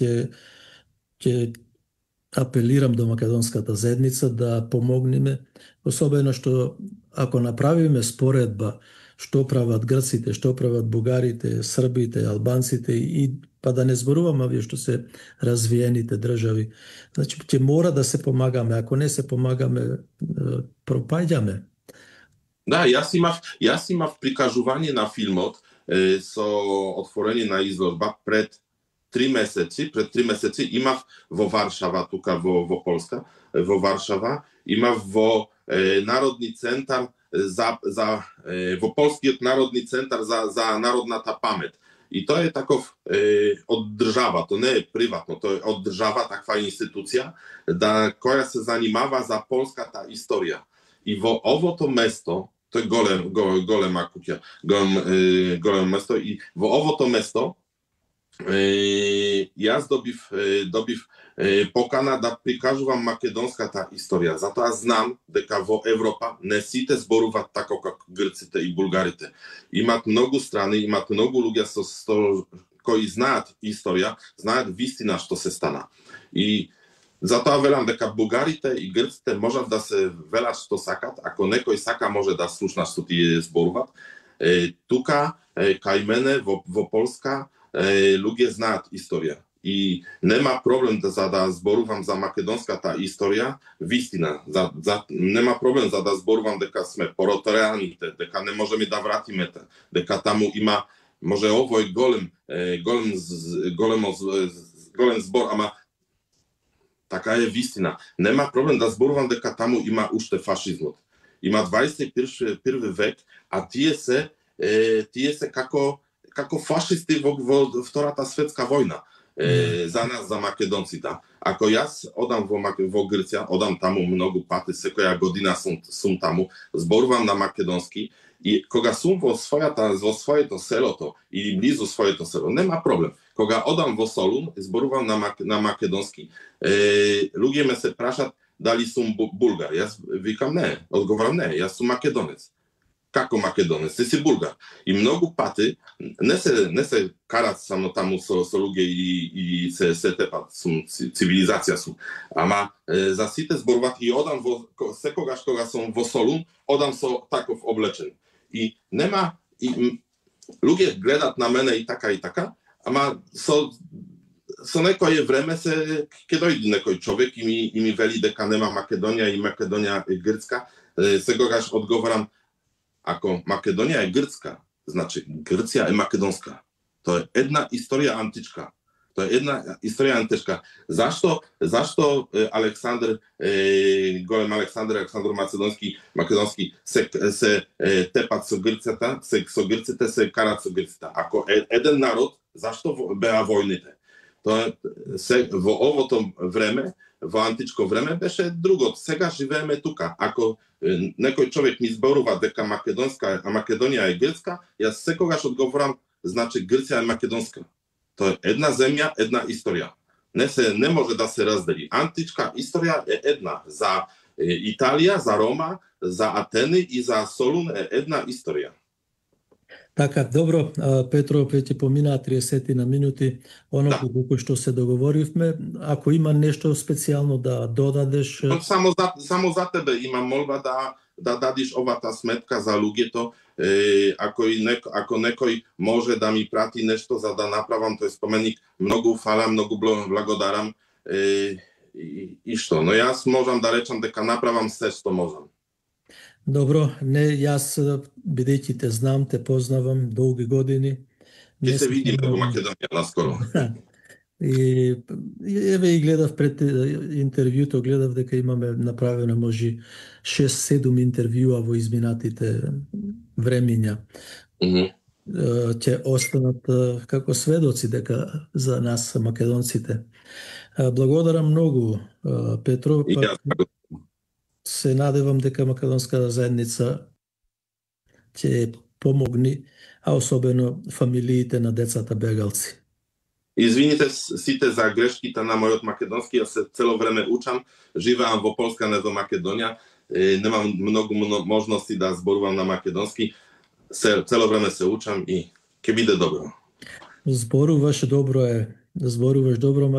ќе апелирам до македонската заедница да помогнеме, особено што ако направиме споредба што прават грците, што прават бугарите, србите, албанците и па да не зборувам овие што се развиените држави. Значи ќе мора да се помагаме, ако не се помагаме, пропаѓаме. Да, јас имав прикажување на филмот со отворени на изложба пред 3 месеци имав во Варшава, тука во Полска, во Варшава, имав во Народни центар во Полскиот народни центар за народната памет. И тоа е таков од држава, тоа не е приватно, тоа е од држава таква институција која се занимава за полската историја. И во овото место, тоа е голема куќа, големо место, и во овото место јас добив покана да прикажувам македонската историја. Затоа знам дека во Европа не сите зборуваат така како грците и булгарите. Имат многу страни, имат многу луѓе кои знаат историја, знаат вистина што се стана. И затоа велам дека бугарите и грците можат да се велат што сакат, ако некој сака може да слушна што тие зборуваат. Тука кај мене во Полска луѓе знаат историја и нема проблем да зборувам за македонската историја, вистина, нема проблем за да зборувам дека сме протераните, дека не можеме да вратиме, дека таму има може овој голем збор, ама така е вистина. Нема проблем да зборувам дека таму има уште фашизмот. Има 21 век, а тие се како фашисти во Втората светска војна за нас, за македонците. Ако јас одам во Грција, одам таму многу пати, секоја година сум таму, зборувам на македонски и кога сум во своето селото или близу своето село, нема проблем. Кога одам во Солун, зборувам на македонски, луѓе ме се прашат дали сум булгар. Јас викам не, одговорам не, јас сум македонец. Како македонец, си булгар. И многу пати не се карат само таму со луѓе и се тепат, цивилизација сум. Ама за сите зборуват и одам секогаш кога сум во Солун, одам со таков облечен. И нема луѓе гледат на мене и така, ама со некое време ќе дојде некој човек и ми вели дека нема Македонија и Македонија е грцка. Секогаш одговорам, ако Македонија е грцка, значи Грција е македонска. Тоа е една историја античка. Тоа е една историја античка. Зашто Александар, голем Александар македонски се тепат со грците, се карат со грците. Ако еден народ, зашто беа војните? Тоа во овото време, во античко време беше другото. Сега живееме тука. Ако некој човек ми зборува дека Македонија е грцка, јас секогаш одговорам, значи Грција е македонска. Тоа е една земја, една историја. Не може да се раздели. Античка историја е една. За Италија, за Рома, за Атени и за Солун е една историја. Така, добро, Петро, веќе поминаа 30 на минути, колку што се договоривме. Ако има нешто специјално да додадеш... Само за тебе имам молба да дадиш овата сметка за луѓето. Ако некој може да ми прати нешто за да направам тој споменик, многу фала, многу благодарам. И што? Но јас можам да речам дека направам се што можам. Добро, јас бидејќи те знам, те познавам долги години. Ќе се видиме во Македонија наскоро. И еве гледав пред интервјуто, гледав дека имаме направено може 6-7 интервјуа во изминатите времиња. Ќе останат како сведоци дека за нас македонците. Благодарам многу, Петро. Се надевам дека македонската заедница ќе помогни, а особено фамилиите на децата бегалци. Извините сите за грешките на мојот македонски, јас цело време учам, живеам во Полска, не во Македонија, немам многу можности да зборувам на македонски, цело време се учам и ќе биде добро. Зборуваш добро е. зборуваш добро